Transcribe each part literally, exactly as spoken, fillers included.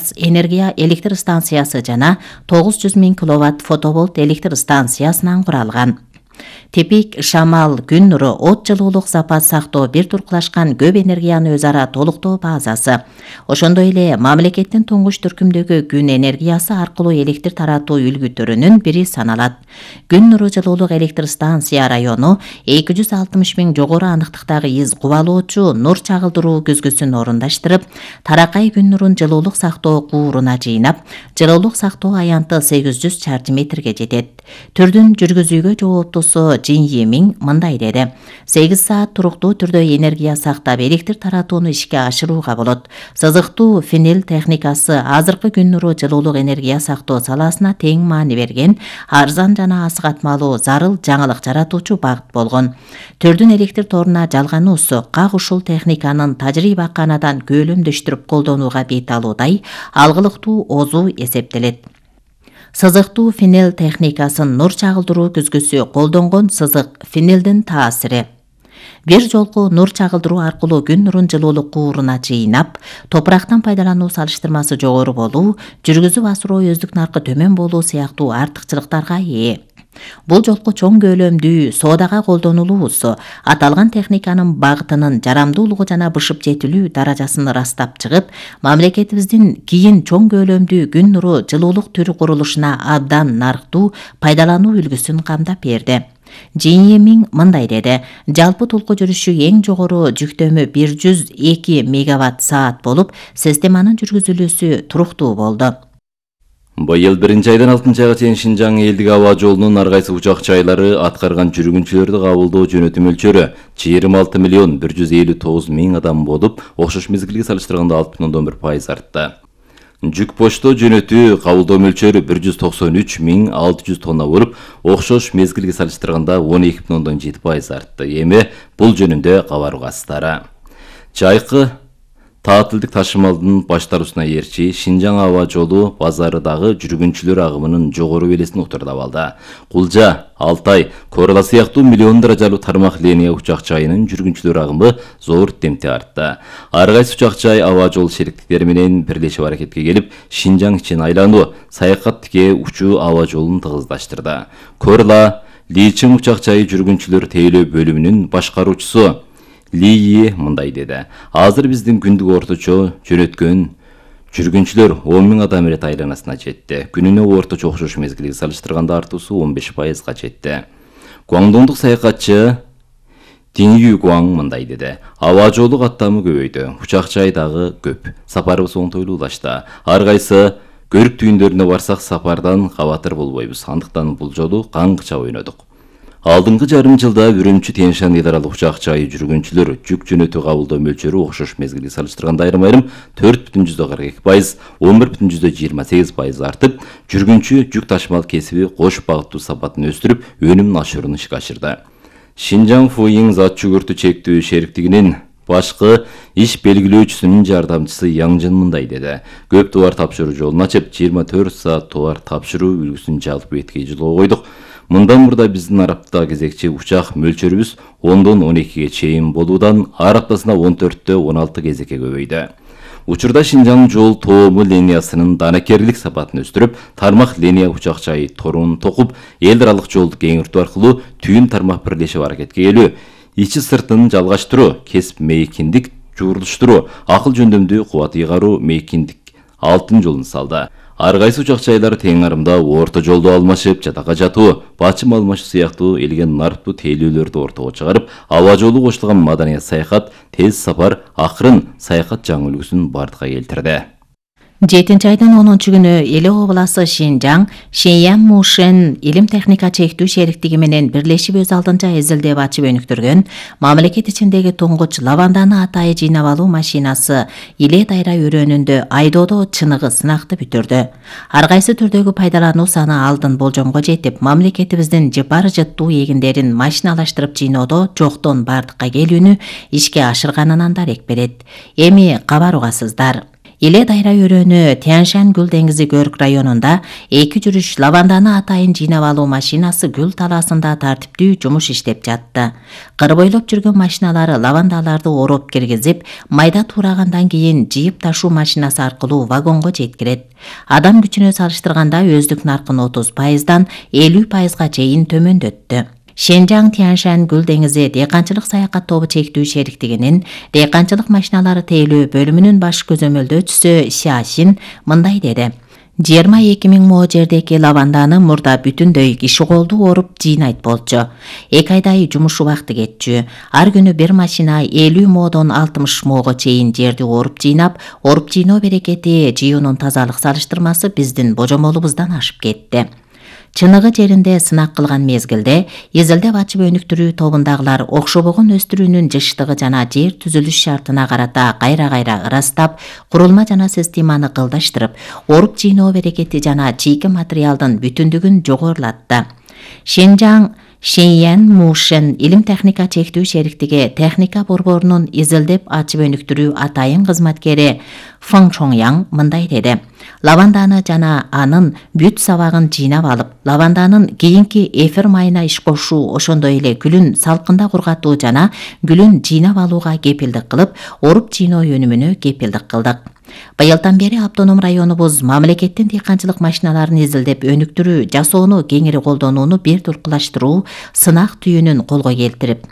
газ энергия электр станциясы жана тогуз жүз миң киловатт фоtovольт электр станциясынан куралган. Тепик, шамал, күн нуру, от жылуулук запас сактоо бир туркулашкан көп энергияны өз ара толуктоо базасы. Ошондой эле мамлекеттин туңгуч түркүмдөгү күн энергиясы аркылуу электр таратуу үлгүтөрүнүн бири саналат. Күн нуру жылуулук электр станция району эки жүз алтымыш миң жогору аныктыктагы из кубалоочу нур чагылдыруу көзгөсүн орундаштырып, таракай күн нурун жылуулук сактоо кууруна жыйнап, жылуулук сактоо аянты сегиз жүз чарчы метрге жетет. Түрдүн жүргүзүүгө жооптусу Жин Емиң мындай деди. сегиз саат туруктуу түрдө энергия сактап, электр таратууну ишке ашырууга болот. Сызыктуу фенел техникасы азыркы күн нуру жылуулук энергия сактоо саласына тең маани берген, арзан жана асыгатмалуу зарыл жаңылык жаратуучу багыт болгон. Түрдүн электр торуна жалгануусу как ушул техниканын тажрыйбаканадан көөлөмдөштүрүп колдонууга бет алуудай алгылыктуу озу эсептелет. Сызыктуу фенел техникасын нур чагылдыруу күзгүсү колдонгон сызык фенелдин таасири. Бир жолку нур чагылдыруу аркылуу күн нурун жылуулук кууруна жыйнап, топурактан пайдалануу салыштырмасы жогору болуу, жүргүзүп асыруу өздүк наркы төмөн болуу сыяктуу артыкчылыктарга ээ. Бул жолку чоң көлөмдүү соодага колдонулуусу аталган техниканын багытынын жарамдуулугу жана бышып жетилүү даражасын ырастап чыгып, мамлекетибиздин кийин чоң көлөмдүү күн нуру жылуулук түрү курулушуна абдан нарктуу пайдалануу үлгүсүн камдап берди. Жин Емиң мындай деди. Жалпы толку жүрүшү эң жогору жүктөмү бир жүз эки мегаватт саат болуп, системанын жүргүзүлүүсү туруктуу болду. Быйыл биринчи айдан алтынчы айга чейин Шинжаң элдик аба жолунун ар кайсы учак жайлары аткарган жүргүнчүлөрдү кабылдоо жөнөтүү мөлчөрү жыйырма алты миллион бир жүз элүү тогуз миң адам болуп, окшош мезгилге салыштырганда алты бүтүн ондон бир пайыз артты. Жүк почтоо жөнөтүү кабылдоо мөлчөрү бир жүз токсон үч миң алты жүз тонна болуп, окшош мезгилге салыштырганда он эки бүтүн ондон жети пайыз артты. Эми бул жөнүндө кабар угасыздары. Жайкы таатылдык ташымалдын баштаруусуна ээрчи Шинжаң аба жолу базарыдагы жүргүнчүлөр агымынын жогору белесин утурдап алды. Кулжа, Алтай, Корла сыяктуу миллион даражалуу тармак линия учак жайынын жүргүнчүлөр агымы зор темпте артты. Ар кайсы учак жай аба жол шериктиктери менен бирлешип аракетке келип, Шинжаң ичин айлануу, саякат тике учуу аба жолун тыгыздаштырды. Корла, Личиң учак жайы жүргүнчүлөр тейлөө бөлүмүнүн башкаруучусу Лии мындай деди. Азыр биздин күндүк орточо жөнөткөн жүргүнчүлөр он миң адам ирет айланасына жетти. Күнүнө орточо окшош мезгилге салыштырганда артуусу он беш пайызга жетти. Гуаңдондук саякатчы Тинью Гуаң мындай деди. Аба жолу каттамы көбөйдү. Учак жай дагы көп. Сапарыбыз оңтойлуулашты. Ар кайсы көрүк түйүндөрүнө барсак сапардан кабатыр болбойбуз. Андыктан бул жолу каңгыча ойнодук. Алдыңкы жарым жылда Үрүмчү Тянь-Шань эл аралык учак жайы жүргүнчүлөр жүк жөнөтүү кабылдоо мөлчөрү окшош мезгилге салыштырганда айрым-айрым төрт бүтүн жүздөн кырк эки пайыз, он бир бүтүн жүздөн жыйырма сегиз пайыз артып, жүргүнчү жүк ташымал кесиби кош багыттуу сапатын өстүрүп, өнүмүн ашыруун ишке ашырды. Шинжаң Фуйиң зат жүгүртүү чектүү шериктигинин башкы иш белгилөөчүсүнүн жардамчысы Яңжын мындай деди. Көп товар тапшыруу жолун ачып, жыйырма төрт саат товар тапшыруу үлгүсүн жалпы бетке жолго койдук. Мындан мурда биздин арапта кезекчи учак мөлчөрүбүз ондон он экиге чейин болуудан ар аптасына он төрттө он алты кезекке көбөйдү. Учурда Шинжаң жол тоому линиясынын данакерлик сапатын өстүрүп, тармак линия учак жайы торун токуп, эл аралык жолду кеңиртүү аркылуу түйүн тармак бирлешип аракетке келүү, ичи сыртын жалгаштыруу, кесип мейкиндик жуурулуштуруу, акыл жөндөмдүү кубат ыйгаруу мейкиндик алтын жолун салды. Ар кайсы учак жайлар тең арымда орто жолду алмашып, жатакка жатуу, бачым алмашуу сыяктуу элген нарптуу тейлөөлөрдү ортого чыгарып, аба жолу кошулган маданият саякат, тез сапар, акырын саякат жаңы үлгүсүн бардыкка келтирди. жетинчи айдын онунчу күнү Эле обласы Шинжаң Шеньян Мушен илим техника чектүү шериктиги менен бирлешип өз алдынча эзилдеп ачып өнүктүргөн мамлекет ичиндеги туңгуч лаванданы атайы жыйнап алуу машинасы Иле Дайра өрөөнүндө айдоодо чыныгы сынакты бүтүрдү. Ар кайсы түрдөгү пайдалануу саны алдын болжомго жетип, мамлекетибиздин жыпар жыттуу эгиндерин машиналаштырып жыйноодо жоктон бардыкка келүүнү ишке ашырганынан дарек берет. Эми кабар угасыздар. Иле Дайра өрөөнү Тяньшань Гүл деңизи Көрк районунда эки жүрүш лаванданы атайын жыйнап алуу машинасы гүл талаасында тартиптүү жумуш иштеп жатты. Кыр бойлоп жүргөн машиналары лавандаларды ороп киргизип, майда турагандан кийин жыйып ташуу машинасы аркылуу вагонго жеткирет. Адам күчүнө салыштырганда өздүк наркын отуз пайыздан элүү пайызга чейин төмөндөттү. Шенжаң Тяньшань Гүл деңизи дыйканчылык саякат тобу чектүү шериктигинин дыйканчылык машиналары тейлөө бөлүмүнүн баш көзөмөлдөөчүсү Сясин мындай деди. жыйырма эки миң мо жердеки лаванданы мурда бүтүндөй киши колду оруп жыйнайт болчу. эки айдай жумуш убакты кетчү. Ар күнү бир машина элүү модон алтымыш мого чейин жерди оруп жыйнап, оруп жыйноо берекети жыюунун тазалык салыштырмасы биздин божомолубуздан ашып кетти. Чыныгы жеринде сынак кылган мезгилде изилдеп ачып өнүктүрүү тобундагылар окшобогон өстүрүүнүн жыштыгы жана жер түзүлүш шартына карата кайра-кайра ырастап, курулма жана системаны кылдаштырып, оруп жыйноо берекети жана чийки материалдын бүтүндүгүн жогорулатты. Шенжаң Шеньян Мушен илим техника чектүү шериктиги техника борборунун изилдеп ачып өнүктүрүү атайын кызматкери Фың Чоңяң мындай деди. Лаванданы жана анын бүт сабагын жыйнап алып, лаванданын кийинки эфир майына иш кошуу, ошондой эле гүлүн салкында кургатуу жана гүлүн жыйнап алууга кепилдик кылып, оруп жыйноо өнүмүнө кепилдик кылдык. Быйылдан бери автоном районубуз мамлекеттин дыйканчылык машиналарын изилдеп өнүктүрүү, жасоону кеңири колдонууну бир туркулаштыруу сынак түйүнүн колго келтирип,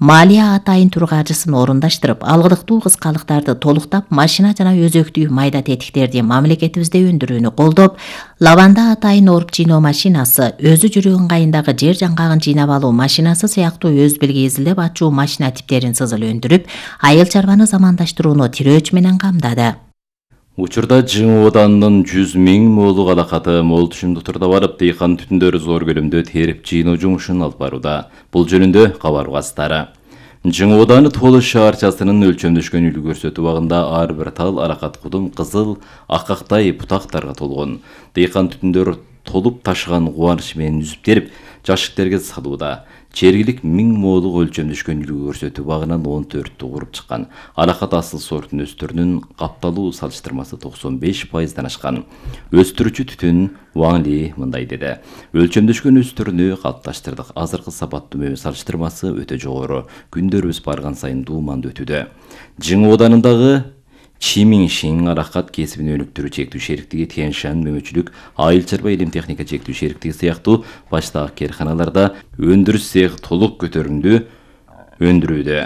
малия атайын тургажысын орундаштырып, алгылыктуу кыскалыктарды толуктап, машина жана өзөктүү майда тетиктерди мамлекетибизде өндүрүүнү колдоп, лаванда атайын оруп жыйноо машинасы, өзү жүрүү ыңгайындагы жер жаңгагын жыйнап алуу машинасы сыяктуу өз билги изилдеп ачуу машина типтерин сызыл өндүрүп, айыл чарбаны замандаштырууну тирөөч менен камдады. Учурда Жыңы Оданынын жүз миң молук алакаты мол түшүмдүү турда барып, дыйкан түтүндөрү зор көлөмдө терип жыйноо жумушун алып барууда. Бул жөнүндө кабар угасыздары. Жыңы Оданы Толуш шаарчасынын өлчөмдөшкөн үлгү көрсөтүү убагында ар бир тал аракат кудум кызыл, акактай бутактарга толгон. Дыйкан түтүндөр толуп ташыган кубаныч менен үзүп терип, жашыктерге салууда. Жергилик миң молук өлчөмдөшкөн үлгү көрсөтүү багынан он төрттү куруп чыккан. Аракат асыл сортун өстүрүнүн капталуу салыштырмасы токсон беш пайыздан ашкан. Өстүрүүчү түтүн Ван Ли мындай деди. Өлчөмдөшкөн өстүрүнү калыпташтырдык. Азыркы сапаттуу мөмө салыштырмасы өтө жогору. Күндөрүбүз барган сайын дуумандуу өтүүдө. Жыңы Оданындагы Чимиңшин аракат кесибин өнүктүрүү чектүү шериктиги Тяньшань мөмөчүлүк айыл чарба илим техника чектүү шериктиги сыяктуу баштагы керканаларда өндүрүш цехи толук көтөрүмдүү өндүрүүдө.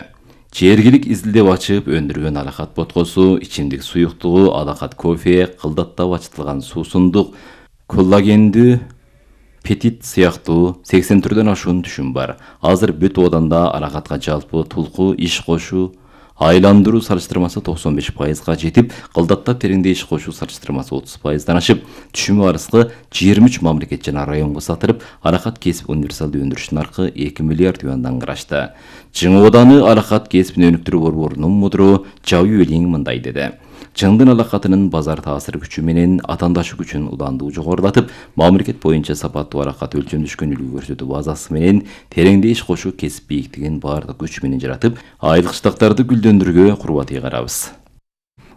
Жергилик изилдеп ачып өндүргөн аракат боткосу, ичимдик суюктугу, алакат кофе, кылдаттап ачытылган суусундук, коллагендүү петит сыяктуу сексен түрдөн ашуун түшүм бар. Азыр бүт Оданда аракатка жалпы тулку иш кошуу айландыруу салыштырмасы токсон беш пайызга жетип, кылдаттап тереңде иш кошуу салыштырмасы отуз пайыздан ашып, түшүмү арызкы жыйырма үч мамлекет жана районго сатырып, аракат кесип универсалдуу өндүрүш наркы эки миллиард юандан карашты. Жыңы Оданы аракат кесибин өнүктүрүү борборунун мудру Жау Юэлиң мындай деди. Жыңдын алакатынын базар таасир күчү менен атандашы күчүн уландуу жогорулатып, мамлекет боюнча сапаттуу аракат өлчөмдөшкөн үлгү көрсөтүү базасы менен тереңде иш кошуу кесип бийиктигин баардык күч менен жаратып, айылкычтактарды гүлдөндүрүүгө курбат ыйгарабыз.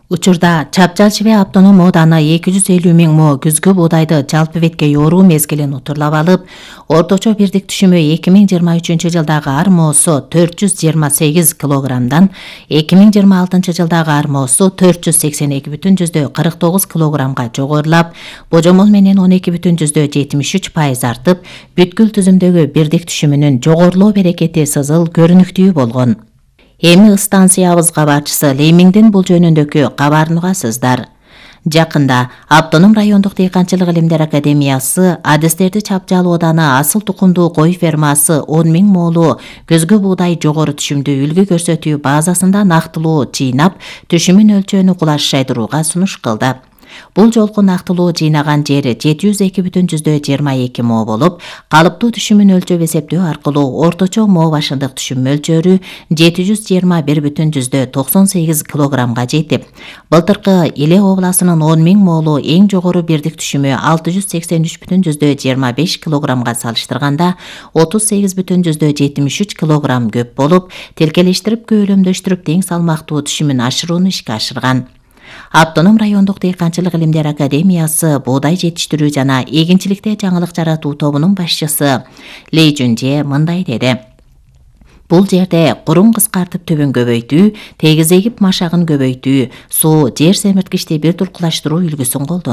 Учурда Чапчалчыбе автоном ооданы эки жүз элүү миң мо күзгү буудайды жалпы бетке yoorуу мезгилин утурлап алып, орточо бирдик түшүмү эки миң жыйырма үчүнчү жылдагы армоосу төрт жүз жыйырма сегиз килограммдан эки миң жыйырма алтынчы жылдагы армоосу төрт жүз сексен эки бүтүн жүздө кырк тогуз килограммга жогорулап, божомол менен он эки бүтүн жүздө жетимиш үч пайыз артып, бүткүл түзүмдөгү бирдик түшүмүнүн жогорулоо берекети сызыл көрүнүктүү болгон. Эми станциябыз кабарчысы Леймиңдин бул жөнүндөгү кабарын угасыздар. Жакында Автоном райондук дыйканчылык илимдер академиясы Адистерди Чапчал ооданы асыл тукумдуу кой фермасы он миң молу көзгү буудай жогору түшүмдүү үлгү көрсөтүү базасында нактылуу жыйнап, түшүмүн өлчөөнү кулаш жайдырууга сунуш кылды. Бул жолку нактылуу жыйнаган жери жети жүз эки бүтүн жүздө жыйырма эки мо болуп, калыптуу түшүмүн өлчөп эсептөө аркылуу орточо мо башындык түшүм мөлчөрү жети жүз жыйырма бир бүтүн жүздө токсон сегиз килограммга жетип, былтыркы Иле областынын он миң молу эң жогору бирдик түшүмү алты жүз сексен үч бүтүн жүздө жыйырма беш килограммга салыштырганда отуз сегиз бүтүн жүздө жетимиш үч килограмм көп болуп, тилкелештирип көөлөмдөштүрүп тең салмактуу түшүмүн ашырууну ишке ашырган. Автоном райондук дыйканчылык илимдер академиясы буудай жетиштирүү жана эгинчиликте жаңылык жаратуу тобунун башчысы Ли Жунже мындай деди. Бул жерде курум кыскартып түбүн көбөйтүү, тегиз эгип машагын көбөйтүү, суу, жер семирткичти бир туркулаштыруу үлгүсүн колдонуу